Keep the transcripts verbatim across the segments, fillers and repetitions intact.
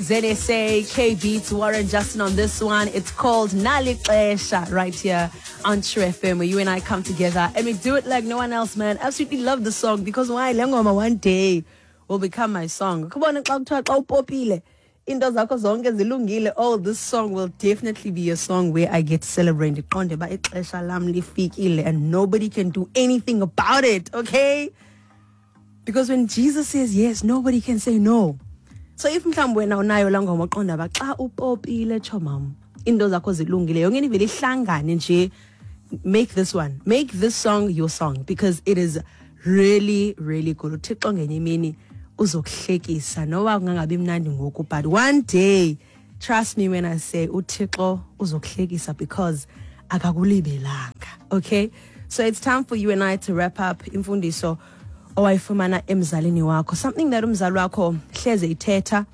Z S A, K Beats, Warren Justin on this one. It's called Nali Xesha right here on True F M, where you and I come together and we do it like no one else, man. Absolutely love the song because why? Le ngoma one day will become my song. Come on, xa kuthiwa xa upopile, into zakho zonke zilungile. Oh, this song will definitely be a song where I get to celebrate. Ndiqonde uba ixesha lam lifikile and nobody can do anything about it, okay? Because when Jesus says yes, nobody can say no. So if mhlawumbi wena unayo laa ngoma, uqonda uba xa upopile, tshomam, into zakho zilungile, yonke into ivele ihlangane nje, make this one, make this song your song, because it is really, really good. UThixo ngenye imini uzokuhlekisa, noba kungangabi mnandi ngoku, but one day, trust me when I say uThixo uzokuhlekisa because akakulibelanga. Okay, so it's time for you and I to wrap up. Imfundiso owayifumana emzalini wakho, something that umzali wakho hleze ithetha,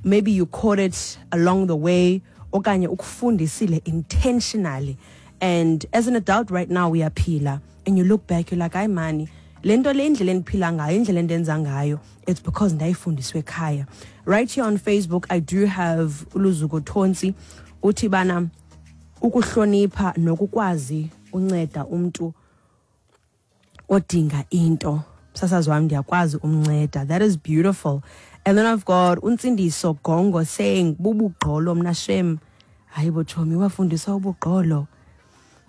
maybe you caught it along the way okanye ukufundisile intentionally, and as an adult right now uyaphila and you look back, you're like, "Hayi mani, le nto le, indlela endiphila ngayo, indlela endenza ngayo, it's because ndayifundiswe ekhaya." Right here on Facebook I do have uLuzuko Thonsi, uthi bana ukuhlonipha nokukwazi unceda umntu odinga into. Msasazi wami, ndiyakwazi umnceda. That is beautiful. And then I've got uNtsindiso Gongo saying bubugqolo. Mna shem, hayi bo chomi, wafundiswa ubugqolo.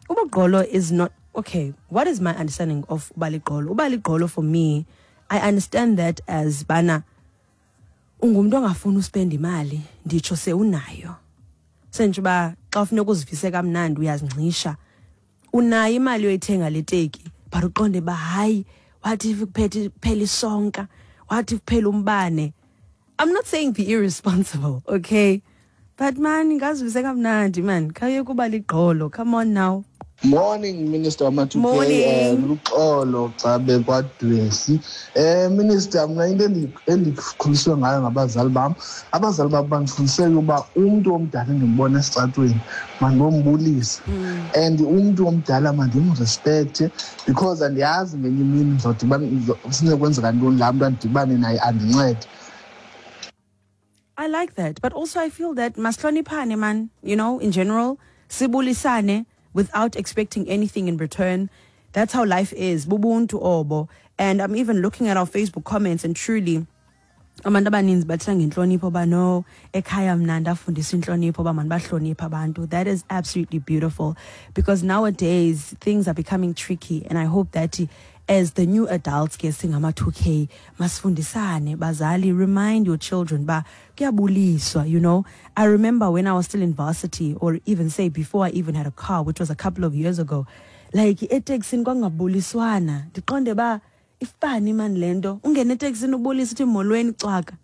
Ubugqolo is not okay. What is my understanding of uba ligqolo? Uba ligqolo for me, I understand that as bana ungumntu ongafuni uspenda imali, nditsho sewunayo, sentsho uba xa ufuneka uzivise kamnandi uyazingcisha. Unayo imali yoyithenga le teki, but uqonde uba hayi, what if kuphethe kuphela isonka, what if kuphela umbane? I'm not saying be irresponsible, okay, but man, ngazivise kamnandi man, khawuye kuba ligqolo. Come on now. Morning, Minister wama-two K. Morning. eh luxolo xa bekwadwesi. eh Minister, mna into endi- endikhuliswe ngayo ngabazali bam, abazali bam bandifundise uba umntu omdala endimbona esitratweni mandiyombulisa, and umntu omdala mandimrespekthe, because andiyazi ngenye imini ndizodibana, sinokwenzeka ntoni, laa mntu andidibane naye andincede. I like that. But also I feel that masihloniphane man, you know, in general, sibulisane without expecting anything in return. That's how life is. Bubuntu obo. And I'm even looking at our Facebook comments, and truly abantu abaninzi bathetha ngentlonipho ba no, ekhaya mna ndafundiswa intlonipho, ba mani bahloniphe abantu. That is absolutely beautiful, because nowadays things are becoming tricky, and I hope that as the new adults ke singama two K, masifundisane. Bazali, remind your children ba kuyabuliswa you know I remember when I was still in varsity, or even say before I even had a car, which was a couple of years ago, like eteksini kwangabuliswana. Ndiqonde ba ifani mani le nto, ungene eteksini ubulisa uthi molweni, cwaka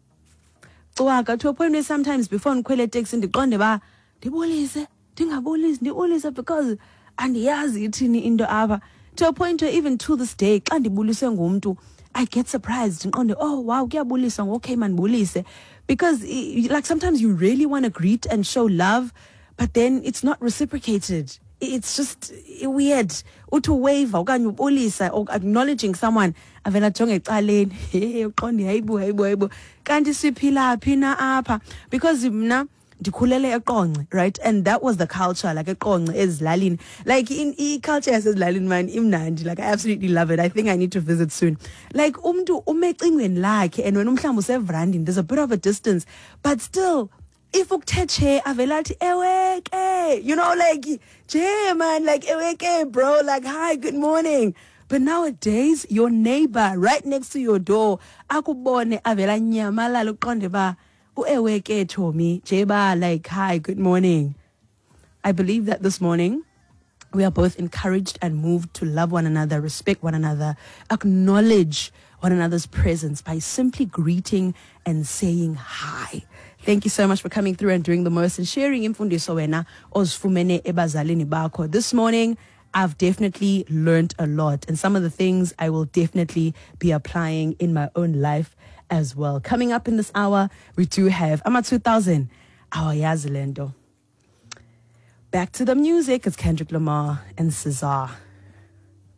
cwaka, to a point where sometimes before ndikhwele eteksini ndiqonde ba ndibulise, ndingabulisi, ndibulise, because andiyazi ithini into apha, to a point where even to this day xa ndibuliswe ngumntu I get surprised, ndiqonde, "Oh wow, kuyabuliswa, okay, mandibulise," because i- like sometimes you really want to greet and show love, but then it's not reciprocated. It's just weird. Uthi uwave okanye ubulisa or acknowledging someone, avela ajonge ecaleni. Hey, uqonde, hayibo, hayibo, hayibo, kanti siphila phi na apha? Because mna ndikhulele eQonce, right, and that was the culture, like eQonce ezilalini, like in i-culture yasezilalini man imnandi. Like I absolutely love it. I think I need to visit soon. Like umntu ume ecingweni lakhe and wena umhlawumbi usevrandini, there's a bit of a distance, but still if ukuthe che, avela athi ewe ke, you know like je man, like ewe ke bro, like hi, good morning. But nowadays your neighbor right next to your door akubone, avela nyamalala, uqonde ba uewe ke chomi jeba, like hi, good morning. I believe that this morning we are both encouraged and moved to love one another, respect one another, acknowledge one another's presence by simply greeting and saying hi. Thank you so much for coming through and doing the most and sharing imfundiso wena ozifumene ebazalini bakho. This morning, I've definitely learned a lot, and some of the things I will definitely be applying in my own life as well. Coming up in this hour, we do have Ama two thousand, awayazi lento. Back to the music, it's Kendrick Lamar and S Z A.